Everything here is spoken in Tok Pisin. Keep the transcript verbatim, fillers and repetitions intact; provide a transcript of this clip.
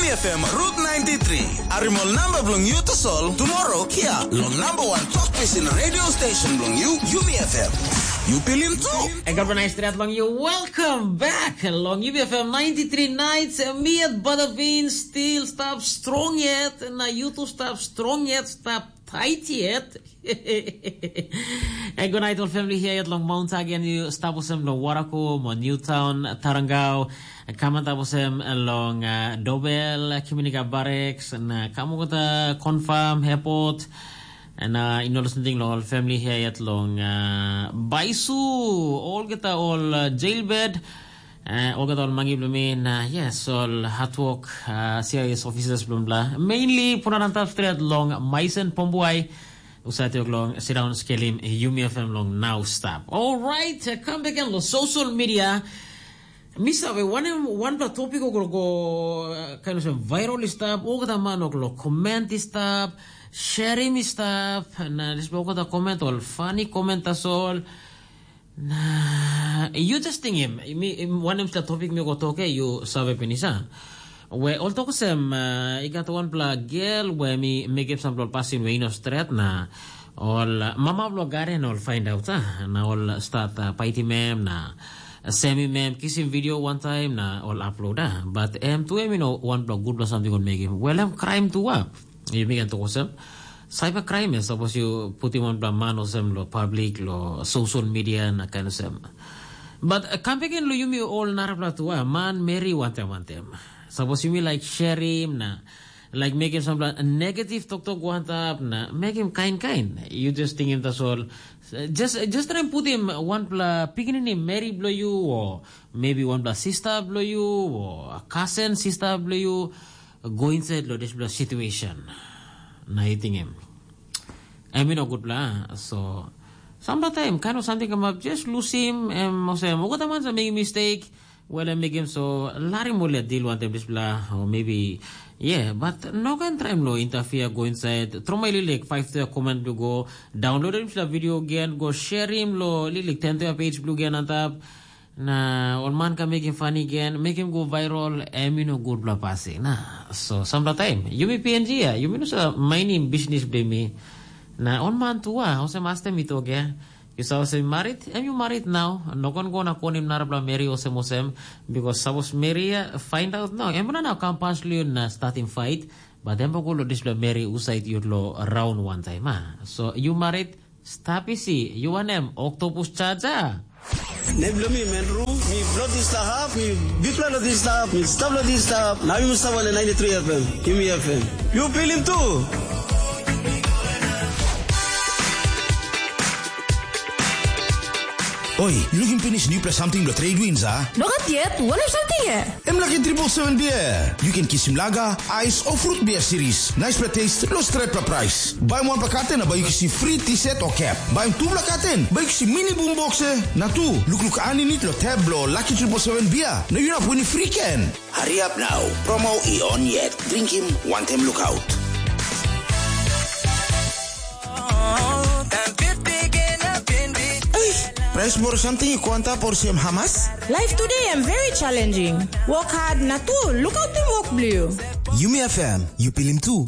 F M Route ninety-three. Arimol namba bilong yu tasol tomorrow kia long number one talk pisin radio station bilong yu, Yumi F M. Yu pilim tu. Ega organized red long you. Welcome back long U B F M ninety-three nights. Me at Badavin still stop strong yet. Na you to stop strong yet. Stop tight yet. And good night, all family here at long Mount Hagen. You stop with them long Waraku, mo Newtown, Tarangau. Kamantap olsem long uh, Dobel, Kiminika Barracks, na Kamukota Confirm Airport, na uh, inolo samting long ol family here yet long uh, Baisu, olgeta ol uh, jailbird, uh, olgeta ol mangi bilong mi, na uh, yes, ol hard work uh, C I S officers bilong bla. Mainly, punarantap stret long Maisen Pombuai, usat yok long sit down skelim Yumi F M long now stop. All right, uh, come back and lo social media. Mi save wanem wanpela topik o go go uh, kind of viral i stap, olgeta man o lo comment i stap, sharing i stap, na dispela olgeta comment ol funny comment tasol. Na you just tingim, mi wanem sela topik mi go toke, you save pinis a. We ol tok sem uh, i gat wanpela gel we mi mekim sampela pasin we ino stret na ol uh, mama bilong garen ol find out ah, na ol start uh, paitim em na semim em kisim video one time na ol upload ah. But em tu em you know wanpela gutpela samting ol mekim. Well em crime tu ah. Yumi kan tok olsem, cyber crime ya sapos you putim wanpela man olsem lo public lo social media na kind olsem. But uh, kam beken lo yumi ol narapela tu ah, man meri wantem wantem. Sapos yumi like sharim na like mekim sampela negative toktok wantap na mekim kain kain. You just tingim tasol. Just, just try putim wanpela pikinini meri blo you o maybe wanpela sista blo you o kasen sista blo you go inside lo dispela situation. Na you tingim. Em i no gutpela, so sampela taim kain of samting kamap just lusim em olsem olgeta man sa mekim mistake. Well em mekim so larim ol ya dil wantem dispela o maybe yeah, but no ken traim lo interfere go inside tromai lilik five to comment blo go download dispela video again go sharim lo lilik ten to page blo again antap. Na ol man ka mekim fani gen mekim go viral em i no gutpela pasin na. So sampela taim yumi png ya yumi no sa mainim bisnis bilong mi. Na ol man tu a olsem astem i tok ya. Yu sa olsem marit em yu marit nau no kon go na konim narapela meri olsem olsem. Bikos sapos meri ya find out nau em na nau kam pas long yu na statim fait. Bat em go long dispela meri usait yu lo raun wantaim a. So yu marit. Stap isi, yu wanem oktopus chaja? Nem bilong mi men ru, mi bilong dislap hap, mi bikpela long dislap, mi stap long dislap, na mi stap long ninety three F M, Yumi F M. Yu pilim tu? Oi, yu lukim pinis nupela samting bilong trade winds, a? Nogat yet, wanem samting e? Em laki triple seven beer. Yu ken kisim laga, ais o fruit beer series. Naispela taste, lo stretpela price. Baim wanpela katen na bai yu kisim free t-shirt o cap. Baim tupela katen, bai yu kisim mini boombox e. Na tu, lukluk aninit lo tab blo Lucky triple seven beer. Na yu inap wini free ken. Hariap nau, promo i on yet. Drinkim, wantem lukaut. Price moro samting i go antap olsem hamas? Life today am very challenging. Work hard na tu, lukautim work bliu. Yumi F M, yu pilim tu.